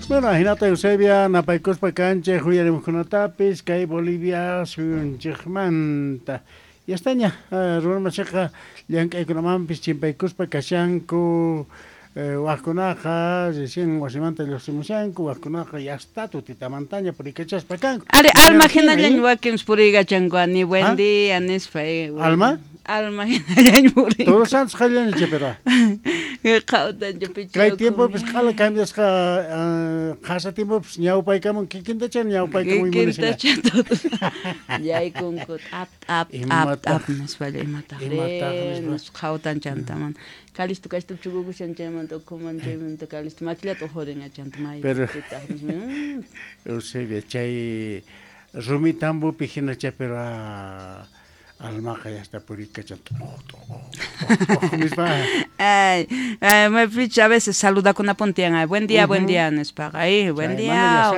Bueno, hinata Eusebia napaykuspa kanchej uyarimuqkunatapis kay Bolivia suyunchikmanta. Yastaña runamachiqa llank'aykunamanpis chimpaykuspa kashanku wajkunaqa recién wasimanta lluqsimushanku, wajkunaqa yasta tutitamantaña purikachaspa kanku. Ari alma hinallañ wakinpis puriykachanku ni buen día nispa. Alma? Alma hinallañ puriy. Todos Santos qallaña pero. Qhawtanchu pichayku. Kay tiempopis q'ala cambiasqa qhasa tiempopis ñawpaykamun kikintacha ñawpaykamuy munashan. Kikintacha todos. Yaykunku t'ap t'ap t'ap t'ap nispalla imataq nispa qhawtan chantaman. Kalisto kashtu chukukushan chaymanta ukhuman chaymanta kalisto makillata ujurin chanta may. Pero Eusebia chay rumi tambopi hinacha pero almaqa yasta purikachan nispa. Ay, maypicha a veces saludakunapun tiyan, ay, buen día, buen día nispaqa, ay, buen día.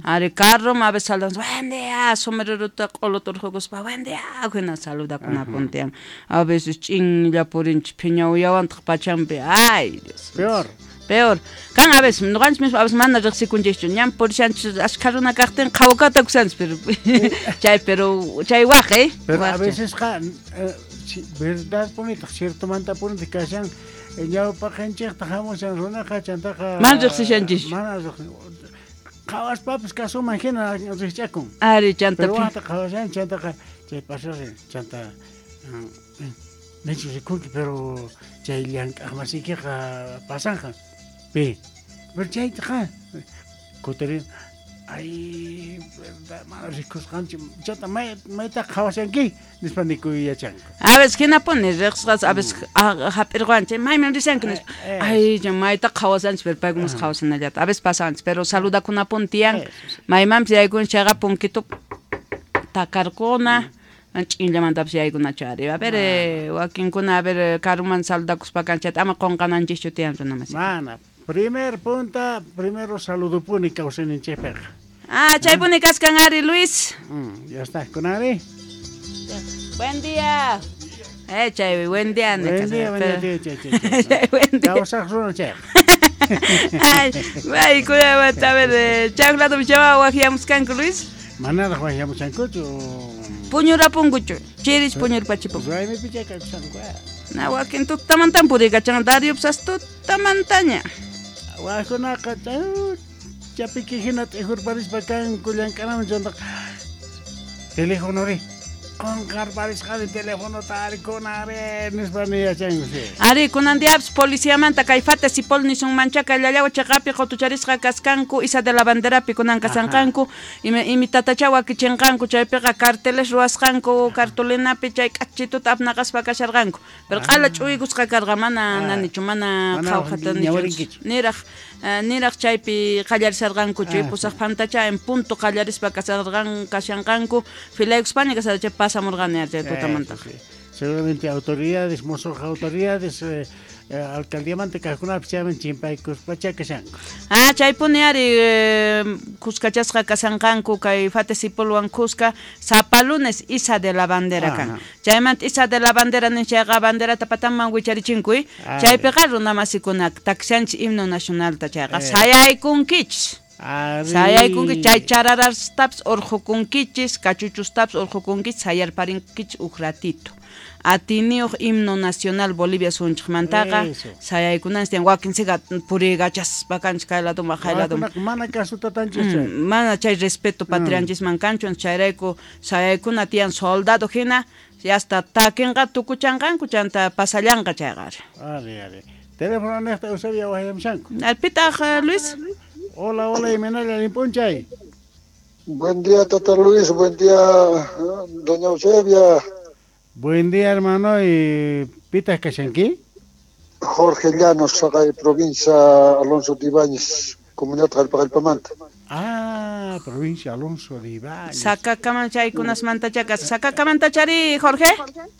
Ari carro a veces saludan, buen día, sombreruta q'uluta urqukuspa, buen día, hina saludakunapun tiyan. A veces ch'inlla purinchis phiña uyawantaq pachampi, ay, Dios. Peor. Peor. Kan a veces, noqanchis mismo a veces mana riqsikunchikchu, ñan purishanchis ashkha runa kaqtin qhawakata kusanchis, pero chay pero chay waq, Pero a veces qa verdad punitaq, ciertomanta punitaq kashan ñawpaqinchikta hamushan runaqa chantaqa mana riqsishanchis. Mana qhawaspapis kasuman hina riqch'akun. Ari chanta. Pero waqta qhawashan chantaqa chay pasashan chanta nichu rikunki pero chay llank'aqmasiykiqa pasanqa. Pi. Pero chaytaqa kutirin ay verdad mana rikusqanchik chanta mayta qhawashanki nispa nikuy yachanku. A veces hinapuni riqsqas a veces hap'irqanchik mayman rishanki nispa ay mayta qhawasanchik pero paykunas qhawasanallata a veces pasanchik pero saludakunapuni tiyan maymanpis yaykunchik chayqa punkito takarquna ch'inllamantapis yaykunachu ari. A ver wakinkuna a ver karuman saludakuspa kanchata ama qunqananchischu tiyan runamasi. Mana primer punta primero saludupuni kawsayninchikpiqa. Ah, chaypuni kaskan ari Luis. Ya está, kunari. Buen día. Chay, buen día. Buen día, buen día, chay. Buen día. Kawsaq runa chay. Ay, ay, cuidado, a ver, chaqlato chawa waqyamuskanku Luis. Manaraq waqyamuskankuchu. Puñurapunkuchu, chirich puñurpachipun. Raymipi chaykakushanku. Na wakin tutamantan purikachan Dariopsas tutamantaña. Wajkunaqa chapiki hina t'ijurparispa kanku llank'anaman chantaqa telefonori qunqarparisqani telefonota ari kunari nispa niyachanku. Ari kunan diapis policiamanta kay Fates y Pol nisunmanchaka llallawa chaqapi qutucharisqa kaskanku Isa de la Banderapi kunan kasanqanku imitatacha wakichinqanku chaypiqa carteles ruwasqanku cartulinapi chay k'achituta apnaqaspa kasharqanku pero q'ala ch'uykusqa karqa mana nanichu mana qhawjata nichu niraq niraq chaypi qallarisarqankuchu pusaq pantacha en punto qallarispa kasarqan kashanqanku filaykuspaña kasarqa pasamurqani chay tutamantaqa. Seguramente autoridades, mosoq autoridades alcaldiamanta kaqkunapis chayman chimpaykuspacha kashanku. Ah, chaypuni ari kuskachasqa kasanqanku kay Fates y Polwan kuska sapa lunes Isa de la Bandera kan. Chaymanta Isa de la Bandera ninchayqa banderata patanman wicharichinkuy. Chaypiqa runamasikuna takshanchik himno nacionalta chayqa sayaykunkichis. Sayaykunki chay chararastapis urqukunkichis, kachuchustapis urqukunkichis, sayarparinkichis uj ratito. Atiniyuq himno nacional Bolivia sunchikmantaqa sayaykunanchis tiyan wakinsiqa puriykachaspa kanchik kay ladoman waqay ladoman. Mana kasuta tanchis chay. Mana chay respeto patrianchisman kanchu chayrayku sayaykuna tiyan soldado hina hasta takinqa tukuchanqanku chanta pasallanqa chayqa. Ari ari. Teléfono niqta Eusebia waqyamushanku. Pitaq Luis? Hola, hola, Imenaya Limpunchay. Buen día, Tata Luis. Buen día, doña Eusebia. Buen día, hermano. ¿Y Pita Kashanki? Jorge Llanos, Sagay, provincia Alonso de Ibáñez, comunidad Jalpaqalpamanta. Ah, provincia Alonso de Ibáñez. Sacacaman chaykunas mantachacas. Sacacaman-tachari, Jorge?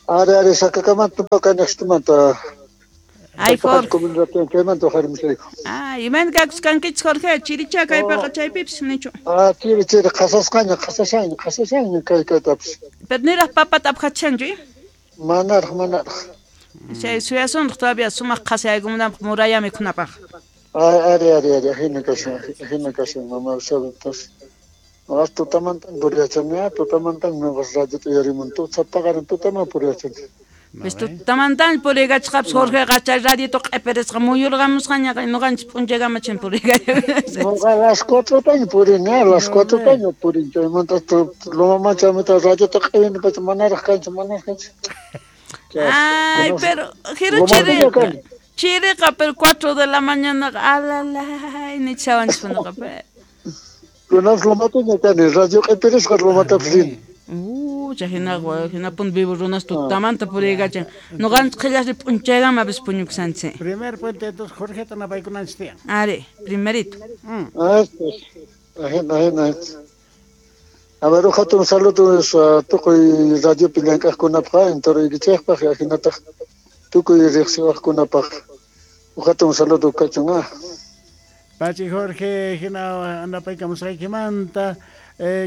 Are, are, Sacacamanta, Pacanastumanta. Ay, Jorge. Ah, iman kakuskankichis Jorge, chiricha kaypiqa chaypipis nichu. Ah, chiri chiri qhasasqaña, qhasashaña, qhasashaña kay kaytapis. Pero niraq papata apqachanchu? Manaraq, manaraq. Chay suyasunraq todavía sumaq qhasayaykumunanpaq muraya mikhunapaq. Ari, ari, ari, ajina kashan, mama Eusebio, entonces. Noqas tutamantan puriyachani, tutamantan noqas radiota uyarimun, paqarin tutaman puriyachani. Pues tutamantan puriykachqapis Jorgeqa chay radioto q'ipirisqa muyurqamusqañaqa noqanchis p'unchaykama chin puriykachaq. Noqa las 4taña purini, las 4taña purin, chaymanta Loma chaymanta radiota q'ipini pacha manaraq kanchu, manaraq kanchu. Ay, pero jiru chiriqa, pero 4 de la mañana alalay nichawanchis noqa. Kunas lomataña kani, radio q'ipirisqa lomatapis rini. Chay hinapun vivo runas tutamanta puriykachan. Noqanchis qhillasri p'unchaykama pis puñukusanchis. Primer puente entonces Jorgeta napaykunanchis tiyan. Ari, primerito. Ajina. A ver, hatun saludo tukuy radiopi llank'aqkunapaq, entoruykichikpaq, ajinataq tukuy riqsiwaqkunapaq. Hatun saludo kachun. Pachi Jorge, hina napaykamusqaykimanta,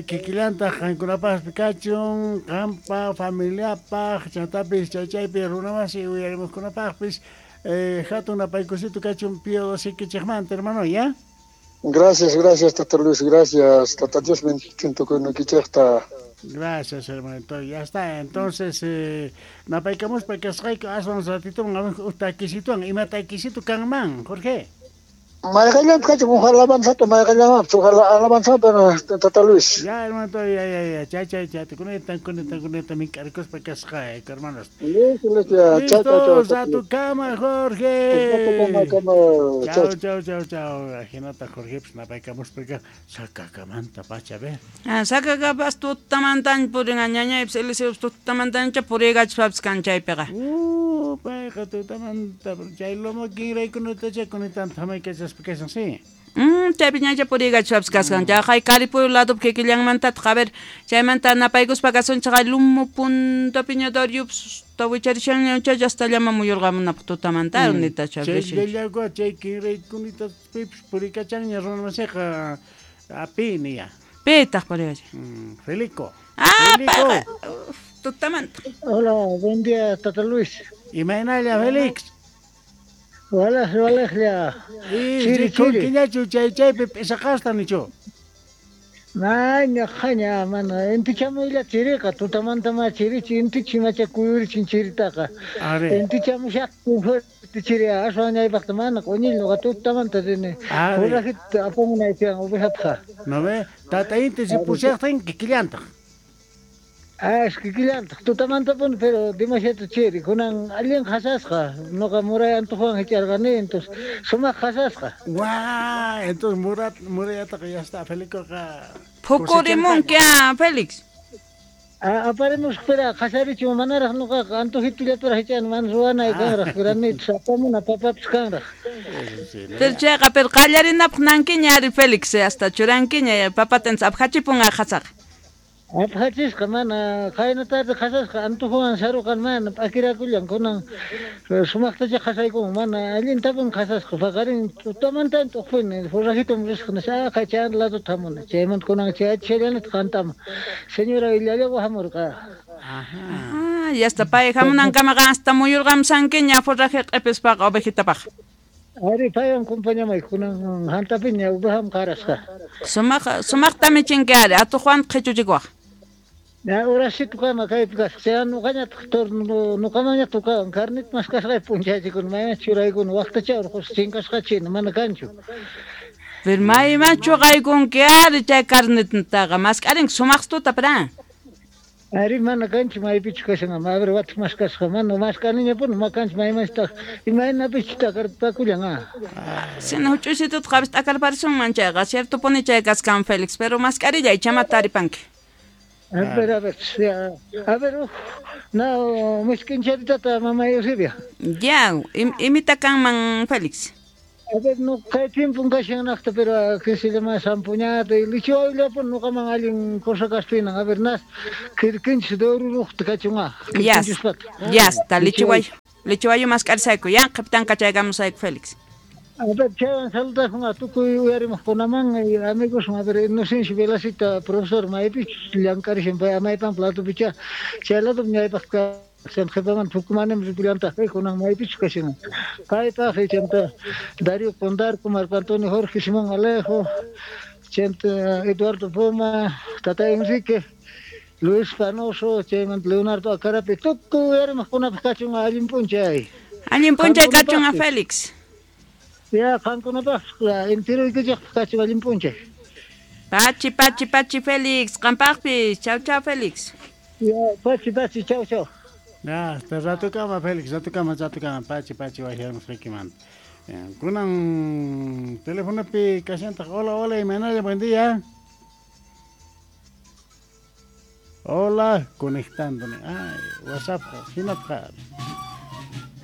kikillantaq qankunapaqpi kachun, qampa familiapaq, chantapis chaychaypi runamasi uyarimuqkunapaqpis, hatun napaykusito kachun Pío sikichikmanta, hermano, ¿ya? Gracias, gracias, Tata Luis, gracias, Tata Dios bendichun tukuynikichikta. Gracias, hermanito. Ya está. Entonces, napaykamuspa kasqayku aswan ratito utakisituan, ima takisitu kanman, Jorge. Mayqallanpi kachun, uj alabanzata mayqallanmapis, uj alabanzata, Tata Luis. Ya, hermanito, ya, chay, chay, chay, kuneta mink'arikuspa kasqayku, hermanos. Listo, ya, chao, chao, chao. Ratukama, Jorge. Chao, chao, chao, chao. Ajinata, Jorge, pues napaykamuspa sakakamanta pacha, a ver. Sakakapas tutamantan purin, ñañaypis Eliseopis tutamantancha puriykachishpapis kan chaypiqa. Payqa tutamanta, chay lomo kinraykunatacha kunitanta hamaykachaspa kashan, sí. Chaypi ñacha puriykachishpapis kashan. Chay Caripuyo ladopi kikillanmantataq, a ver, chaymanta napaykuspa kasunchik lumo puntapiña Dariopis tawicharishanña chay hasta llama muyurqamunapaq tutamanta nitacha. Chay llallagua chay kinraykunita pipis puriykachanña runamasiqa apini ya. Pitaq puriykachan. Felico. Payqa tutamanta. Hola, buen día, Tata Luis. Imaynalla, Félix. Walaj, walajlla. Chiri, chiri. Chay chaypi p'isaqasta nichu. Maña, jaña, mana. Intichamuylla chiriqa, tutamanta ma chirichi, intichi macha kuyurichin chiritaqa. Intichamushaqtin fuerte chiri, aswan ñaypaqta mana q'uñil nuqa tutamanta rini. Forrajita apamunaytiyan ovejapqa. No ve, tata inti si pushaqtin kikillantaq. Es kikillantaq tutamantapuni, pero demasiado chiri. Kunan allin qhasasqa, nuqa muray antojuwan hich'arqani, entonces sumaq qhasasqa. Guau, entonces murayataqa ya está, Felicoqa. Phukurimunki, Félix. Aparimusqa, pero qhasarichun manaraq nuqaqa antojitullataraq hich'ani, mana ruwanay kanraq, granitos apamuna papapis kanraq. Pero chayqa, pero qallarinapaq nankiña ari Félix, hasta churankiña, papata aphachipunqa qhasaqa. Aphachisqa mana qayna tarde qhasasqa antojuwan saruqan mana p'akirakullan kunan sumaqtacha qhasaykun mana allintapun qhasasqa paqarin tutamantan t'uqpuni forrajitum risqa nisqa qay ladota hamuni chaymanta kunan chayachishallanataq qantama señora Illallawa hamurqa. Ajá, ya está pay hamunankamaqa hasta muyurqamsankiña forraje q'ipispaqa ovejitapaq. Ari paywan compañamay kunan hantapiña ovejam qarasqa. Sumaqtami chinki ari atuqwan qhichuchikuwaq. Ya urasito kama kaypi kasqa chay nuqañataq nuqamaña tukawan carnita maskasqay p'unchaychikuna mayman churaykuna waqtacha urqusqa chinkasqachina mana kanchu. Pero mayman chuqaykunki ari chay carnitataqa mask'arinki sumaqstuta pra. Ari mana kanchu maypichu kashan, a ver wataq maskasqa mana mask'aniñapuni ma kanchu maymanchitaq imaynapichu t'akarpakullan. Sina huch'uysituta qapis t'akarparisunman chayqa ciertopuni chay kaskan Félix, pero mask'arillay chamata taripanki. A ver, a ver, no, miskinchatitata mamá Eusebia. Ya, imita kanman Félix. A ver, no, kay tiempo kashanaqta, pero que se llama sampuñata y lichiwayllapun nuqaman allin cosa kaspinan. A ver, nas, kirkinchis de ururuqta kachunqa. Ya, ya está, lichiwayo. Lichiwayo mask'arisayku, ya, qhipitan kachaykamusayku Félix. A ver, chaywan saludasun tukuy uyarimuqkunaman y amigos, a ver, Inocencio Velasita, profesor maypichus llank'arishan pay amaypan platopicha, chay lado ñaypaq Qhipaman Tucumanim ripullantaq kunan maypichu kashan. Paypaq chanta Darío Condarco, Marco Antonio Jorge, Simón Alejo, chanta Eduardo Poma, Tata Enrique, Luis Panoso, chaymanta Leonardo Acarapi, tukuy uyarimuqkunapaq kachun allin p'unchay. Allin p'unchay kachun a Félix. Ya, qankunapaq enteroykichikpaq kachun allin p'unchay. Pachi, pachi, pachi, Félix. Qampaqpis. Chau, chau, Félix. Ya, pachi, pachi, chau, chau. Ya, hasta ratukama, Félix, ratukama, ratukama, pachi, pachi, wajyamusqaykimanta. Kunan telefonopi kashantaq. Hola, hola, imaynalla, buen día. Hola, conectándome. Ay, WhatsApp, hinatqa.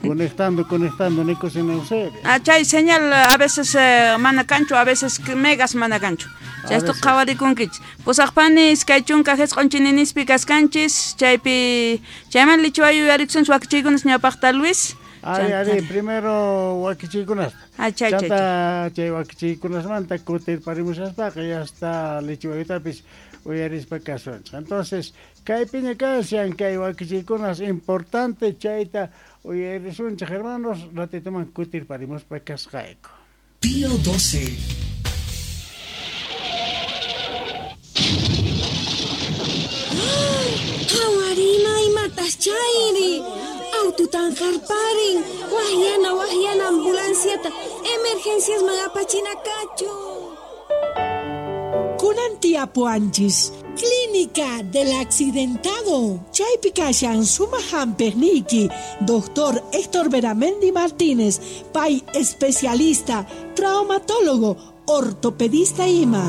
Conectando, conectando, Nico sin Eusebio. Ah, chay señal a veces mana kanchu, a veces megas mana kanchu. Chaysto qhawarikunkichis. Pusaqpani iskay chunka jisq'un chininispi kaskanchis, chaypi chayman lichiwayu yuyarikusunchis wakichiykunas ñawpaqta Luis. Ari, ari, primero wakichiykunasta. Ah, chay, chay, Chanta chay wakichiykunasmanta kutirparimushaspaqa ya está lichiwayutapis uyarispa kasunchis. Entonces, kaypiña kashan kay wakichiykunas importante chayta uyarisunchis, hermanos, ratitoman kutirparimuspa kasqayku. Pío 12. Qhawarina imatas chayri. Aututan harparin. Wajyana, wajyana ambulanciata. Emergenciasman apachina kachu. Kunan tiyapuanchis. Clínica del Accidentado. Chaypi kashan sumaq hampiqniyki, Doctor Héctor Beramendi Martínez, pay especialista, traumatólogo, ortopedista ima.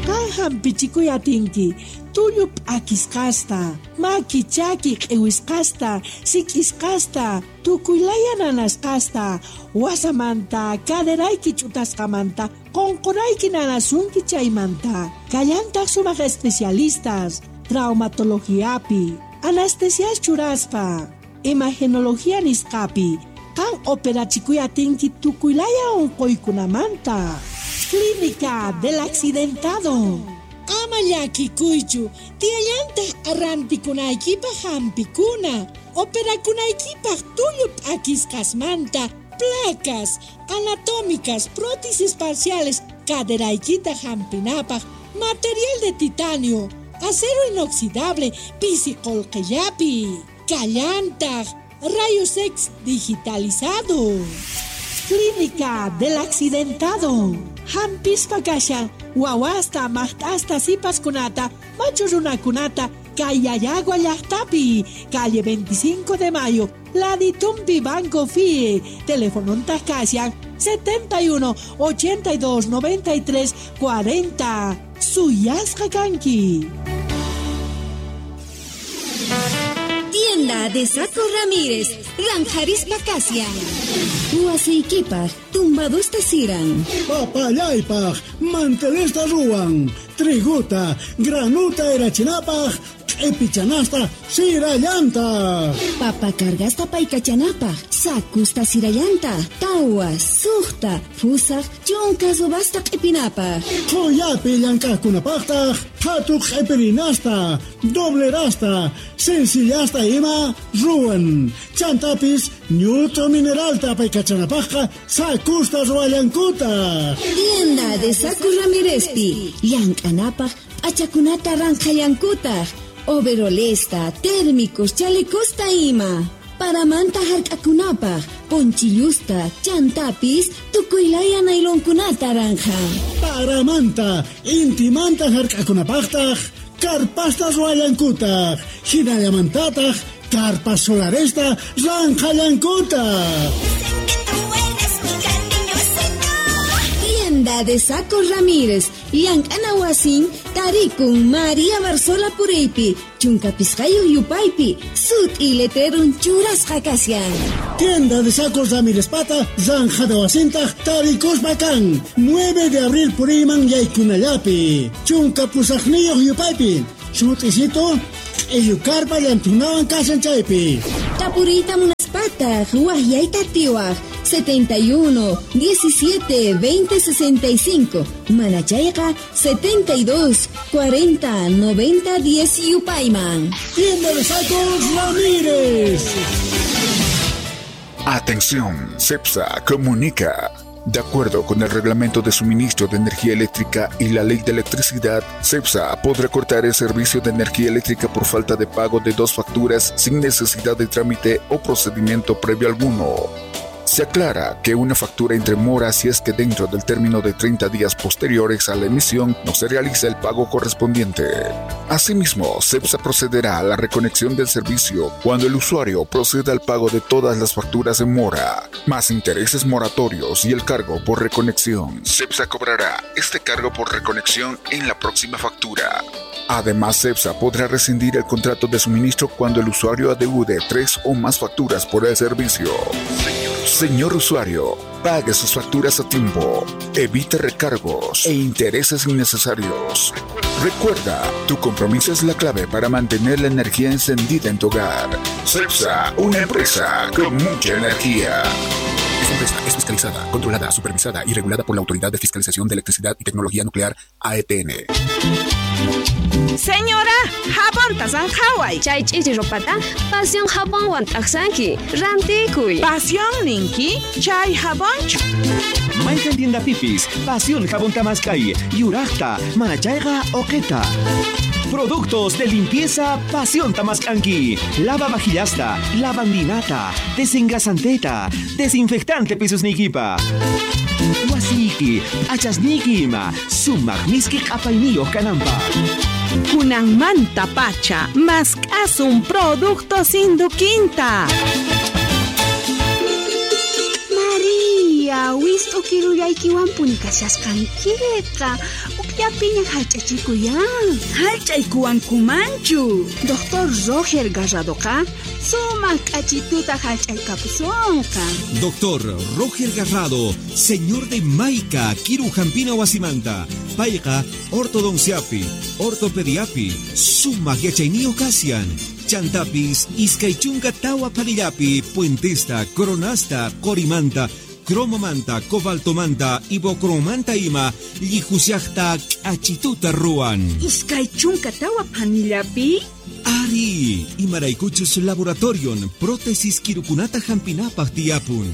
Qan hampichikuy atinki, tullu p'akisqasta, maki chaki q'iwisqasta, sik'isqasta, tukuylaya nanasqasta, wasamanta, caderayki ch'utasqamanta, qunqurayki nanasunki chaymanta. Kallantaq sumaq especialistas, traumatologiapi, anestesias churaspa, imagenología nisqapi, qan operachikuy atinki tukuylaya unquykunamanta. Clínica del Accidentado. Ama llakikuychu, tiyallantaq arrantikunaykipaq hampikuna, operakunaykipaq tullu p'akisqasmanta, placas anatómicas, prótesis parciales, caderaykita hampinapaq, material de titanio, acero inoxidable, pisi qullqillapi, kallantaq, rayos X digitalizado. Clínica del Accidentado. Hampispa kashan, wawasta, maqt'asta, sipaskunata, machu runakunata, kay Yayagua llaqtapi, calle 25 de Mayo, Laditumpi Banco FIE, telefonontaq kashan 71 82 93 40. Suyasqa kanki. Tienda de Saco Ramírez, Ranjarispa Kasian. Wasiykipak, tumbadusta siran. Papallaypaj, mantelesta ruwan. Triguta, granuta erachinapaj, q'ipichanasta sirallanta. Papa cargasta paykachanapaj, sakusta sirallanta, tawa, suqta, fusaq, chunka subasta q'ipinapaj. Qhuyapi llank'aqkunapaqtaq, phatu q'ipirinasta, doblerasta, sencillasta ima ruwan. Chantapis ñut'u mineralta paykachanapajqa sakusta ruwallankutaq. Tienda de Saco Ramírezpi, llank'anapaj p'achakunata ranqhallankutaq. Overolesta, térmicos, chalecosta ima. Paramanta hark'akunapaj, ponchillusta, chantapis, tukuylaya nailonkunata ranja. Paramanta, intimanta hark'akunapajtaj, karpasta ruwallankutaq, hinallamantataq, karpas solaresta ranqhallankutaq. Tienda de Saco Ramírez, llank'ana wasin, tarikun María Barzola Puriypi, chunka pisqayuq yupaypi, sut'i letrerun churasqa kashan. Tienda de Sacos Ramírez pata, zanjada wasintaq, tarikuspa kan, 9 de abril Puriyman yaykunallapi, chunka pusaqniyuq yupaypi, sut'isito, q'illu karpa llantunawan kashan chaypi. Tapuriyta munaspa Munaspataq waqyayta atiwaq 71 17 20 65 manachayqa 72 40 90 10 yupayman. Tienda de Sacos Ramírez. Atención, CEPSA comunica. De acuerdo con el Reglamento de Suministro de Energía Eléctrica y la Ley de Electricidad, CEPSA podrá cortar el servicio de energía eléctrica por falta de pago de 2 facturas sin necesidad de trámite o procedimiento previo alguno. Se aclara que una factura entre mora si es que dentro del término de 30 días posteriores a la emisión no se realiza el pago correspondiente. Asimismo, CEPSA procederá a la reconexión del servicio cuando el usuario proceda al pago de todas las facturas en mora, más intereses moratorios y el cargo por reconexión. CEPSA cobrará este cargo por reconexión en la próxima factura. Además, CEPSA podrá rescindir el contrato de suministro cuando el usuario adeude 3 o más facturas por el servicio. Señor usuario, pague sus facturas a tiempo, evite recargos e intereses innecesarios. Recuerda, tu compromiso es la clave para mantener la energía encendida en tu hogar. CEPSA, una empresa con mucha energía. Esta empresa es fiscalizada, controlada, supervisada y regulada por la Autoridad de Fiscalización de Electricidad y Tecnología Nuclear, AETN. Señora, jabonta sanjaway. Chay ch'ichi ropata, pasión jabonwan t'aqsanki, rantikuy. Pasión ninki, chay jabonchu. Mayqan tienda pipis, pasión jabón tamaskay, yuraqta, manachayqa oqeta. Productos de limpieza Pasión Tamascanqui. Lava vajillasta, lavandinata, desengrasanteta, desinfectante pisusnikipa. Wasiki, achasniki ima, sumaq miski q'apayniyuq kananpaq. Kunanmanta pacha, mask'asun productos Induquinta. María, wist'u kirullaykiwanpuni kashasqankiqa. Ukllapiña hallch'achikuyan. Hallch'aykuwankumanchu. Doctor Roger Garradoqa sumaq k'achituta hallch'aykapusunqa. Doctor Roger Garrado, señor de Maica, Kiru Jampina Wasimanta, Payqa, ortodonciapi, ortopediapi, sumaq yachayniyuq kasian. Chantapis, iskay chunka tawa panillapi, puentesta, coronasta, corimanta, cromomanta, cobaltomanta, ibocromanta ima, llijusiaqta k'achituta ruwan. 24 panillapi? Ari, imaraykuchus laboratorion, prótesis kirukunata hampinapaq tiyapun.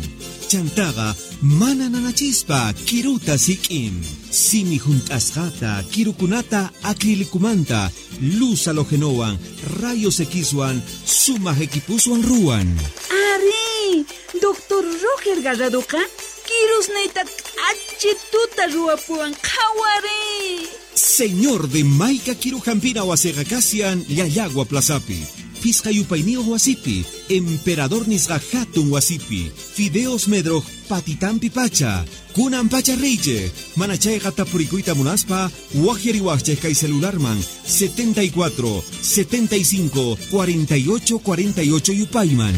Chantaqa mana nanachispa kiruta sik'in. Simi junt'asqata, kirukunata acrilicumanta, luz halogenowan, rayos Xwan, sumaq equipuswan ruwan. Ari, Doctor Roger Garradoqa kirusniyta k'achituta ruwapuwan qhawari. Señor de Maica Kirujampina wasiqa kasian Llallagua Plazapi, Pisqa yupayniyuq wasipi, Emperador nisqa hatun wasipi, Fideos Medroj patitampi pacha, kunan pacha riychej, manachayqa tapurikuyta munaspa, waqyariwaqchej kay celularman 74 75 48 48 yupayman.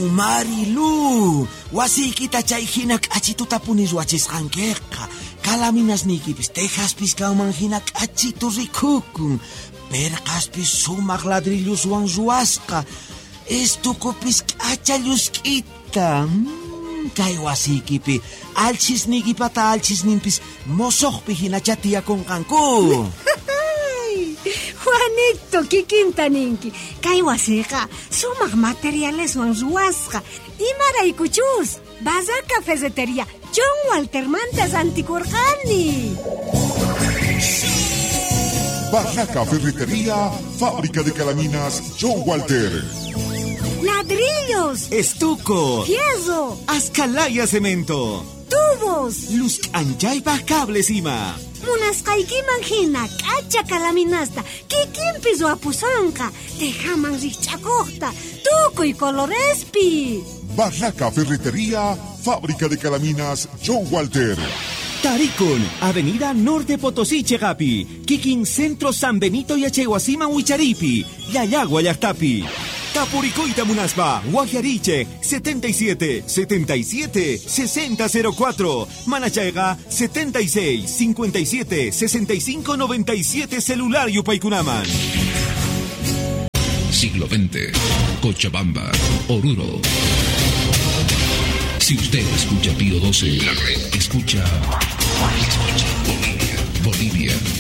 Marilu, wasiykita chay hina k'achituta puni ruwachisqankiqa. Kalaminasniykipis tejaspis kanman hina k'achitu rikukun. Perqaspis sumaq ladrilluswan ruwasqa. Estukupis k'acha llusk'ita. Kay wasiykipi alchisniykipata alchisninpis mosoqpi hinacha tiyakunqanku. Juanito, kikinta ninki. Kay wasiqa sumaq materialeswan ruwasqa. Imaraykuchus, Barraca Ferretería, John Waltermanta rantikurqani. Barraca Ferretería, fábrica de calaminas John Walter. Ladrillos, estuco, fierro, ascalaya cemento, tubos, luz anchaypaj cables ima. Munasqaykiman hina k'acha kalaminasta kikinpis ruwapusunqa, tejaman rikch'akuqta, tukuy colorespi. Barraca Ferretería, fábrica de calaminas John Walter. Tarikun, Avenida Norte Potosí Chegapi, Kikin Centro San Benito Yachaywasiman Wicharipi, Llallagua llaqtapi. Tapurikuyta munaspa, Guajariche, 77 77 60 04, Manachayqa 76 57 65 97 celular yupaykunaman. Siglo XX, Cochabamba, Oruro. Si usted escucha Pío 12, la red escucha, escucha Bolivia, Bolivia.